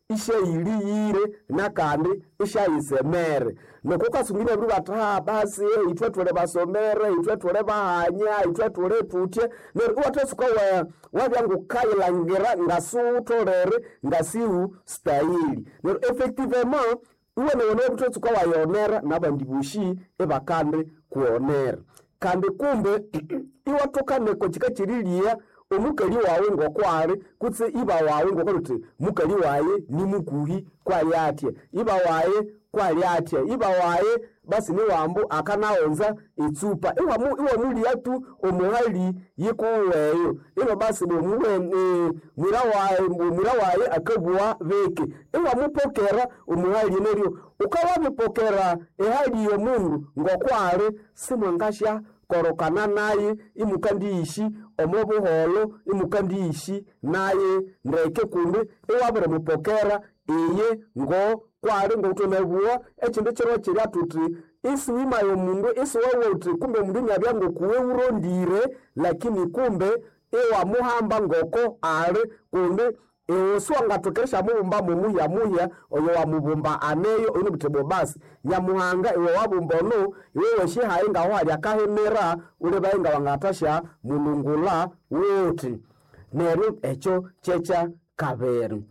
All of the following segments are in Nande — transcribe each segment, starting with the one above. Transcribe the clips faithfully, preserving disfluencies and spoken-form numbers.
Isyayiliyire nakandi isyayisemere. Nuku ukasunga ibabiri bathi ha basi ithwe thuli basomere, ithwe thuli bahanya, ithwe thuli thuthya, neryo iwathatsuka wa wabya ngukayilhangira ngasiwutholere ngasiwusitayiri. Neryo effectivement iwenewene wabithatsuka wayionera nabandi bosi ibakandi kughonera. Kandi kumbe iwathoka neko kika kyeriligha omukali wawu ngokwali kutse iba wawu ngokwali wuthi mukali wayi nimukuhi kwali athya, iba wayi kwali athya, iba wayi basi niwambu akanaghunza etsupa. Iwamu iwamuligha tu omuhali yikuweyo ino basi mwira wayi mwira wayi akabugha biki, iwamupokera omuhali neryo wukawabipokera ehali yomundu ngokwali simwangasya korokana naye imukandiyishi omo buholho imukandiyishi naye ndeke kundi iwabirimupokera iye ngokwali ngokuthwanabugha ekyindu kyiro kyirya thuthi isiwimaya omundu isiwabugha wuthi kumbe omundu inabya ngokuwe wurondire lakini kumbe iwamuhamba ngoko ali kundi iwe siwangathoka erishamubumba mumuhya muhya oyo wamubumba aneyo oyuna buthi basi Nyamuhanga iwe wabumba ono iwe wesyihayi ngahu hali akahimira wulebaye ngawangathasya mulungula wuthi. Neryo ekyo kyekyakabiri.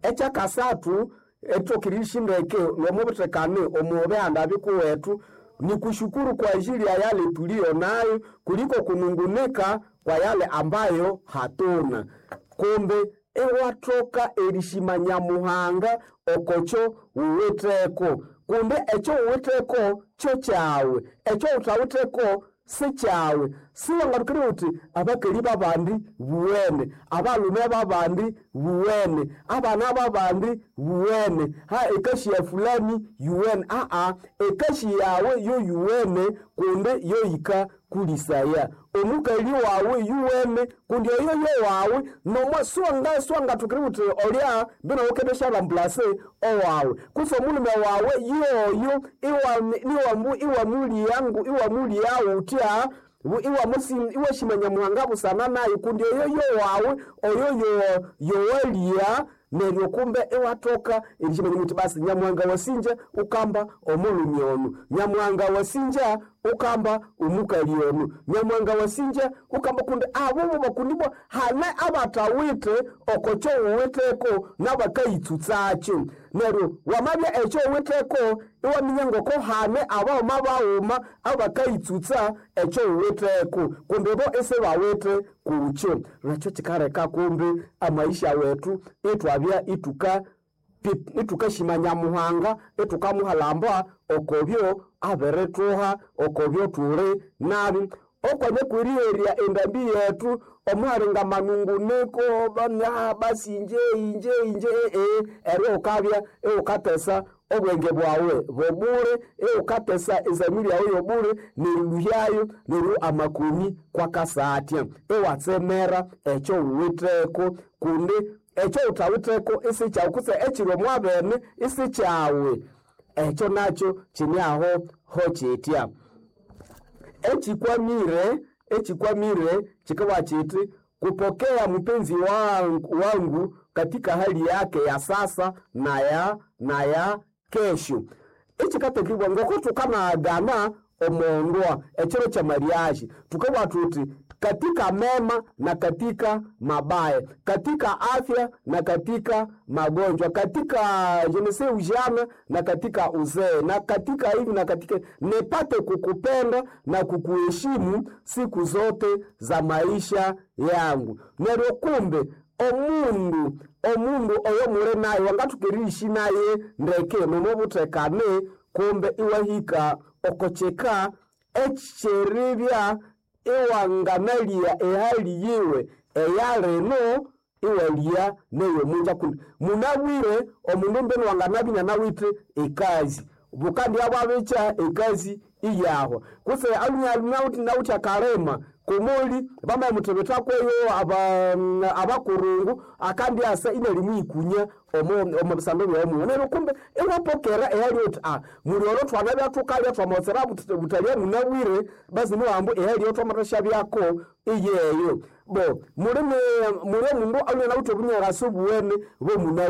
Ekyakasathu erithoka eriyisya nomubuthekane omo bihanda bikuwethu ni kushukuru kwa ajili ya yale tuliyo nayo kuliko kunungunika kwa yale ambayo hatuna. Kumbe iwathoka erishima Nyamuhanga okokyo wuwitheko kumbe ekyo wuwitheko kyo kyawe, ekyo wuthawitheko sikyawe. Siwangathokere wuthi abakali babandi buwene, abalhume babandi buwene, abana babandi buwene, ha ekasi ya fulani yuwene, aa ekasi yawe yoyuwene kundi yoyikakulisaya. Omukali wawu yuwene kundi oyo yowawu nomo siwanga siwangathokere wuthi olya mbino wukendisya owawu kutse omulhume wawu yoyo iwambu iwamuligha iwamuligha wuthya iwashima Nyamuhanga busana nayu kundi oyo yowawu oyo yowaligha neryo kumbe iwathoka erishimanya wuthi basi Nyamuhanga wasinja wukamba omulhume ono, Nyamuhanga wasinja wukamba omukali ono, Nyamuhanga wasinja wukamba kundi abo bakundibwa hane abathawithe okokyo wuwitheko nabakayitsutsakyo. Neryo wamabya ekyo wuwitheko iwaminya ngoko hane abaghuma baghuma abakayitsutsa ekyo wuwitheko kundi bo isibawithe kukyo. Nekyo kyikaleka kumbe amaisha wethu ithwabya ithuka ithukashima Nyamuhanga ithukamuhalamba okobyo abirithuha okobyo thuli nabi. Okwanya kweriherya endambi yethu omuhalinga amanunguniko basi inje inje inje ee eryo wukabya iwukatesa obwenge bwawu bobule iwukatesa ezamiri yawu yobule nerilhuhyayo neryo amakoni kwakasa athya iwatsemera ekyo wuwitheko kundi ekyo wuthawitheko isikyawu kutse ekyiri omwabene isikyawe. Ekyo nakyo kine aho hokyitya. Ekyikwamire ekyikwamire kyikabugha kyithi kupokea mpenzi wangu, wangu katika hali yake ya sasa na ya na ya kesho. Ekyikatekibwa ngoko thukanagana omondwa ekyiro kya mariage thukabugha thuthi katika mema na katika mabaya, katika afya na katika magonjwa, katika je ne sais ujana na katika uzee, na katika hivi na katika nipate kukupenda na kukuheshimu siku zote za maisha yangu. Neryo kumbe omundu omundu oyo muli naye wangathoka eriyishi naye ndeke nomobuthekane kumbe iwahika oko kyika ekyeribya iwanganalya ehali yiwe eyalino iwalya neyomunja kundi munabwire omundu mbinu wanganabya inanawithe ekazi bukandya bwabikya ekazi iyahwa kutse alhunya akalima kumuli bamamuthebethakweyo abakurungu akandyasa inalimwikunya omo bisando byawu neryo kumbe iwapokera ehali wuthi a muli olo thwanabya thukalya thwamaghetsera buthalya munabwire basi niwambu ehali eyo thwamathasyabyaku iyeyo. Bo muli muli omundu alhwe inawithe obunyakasi obuwene bwomunabwire.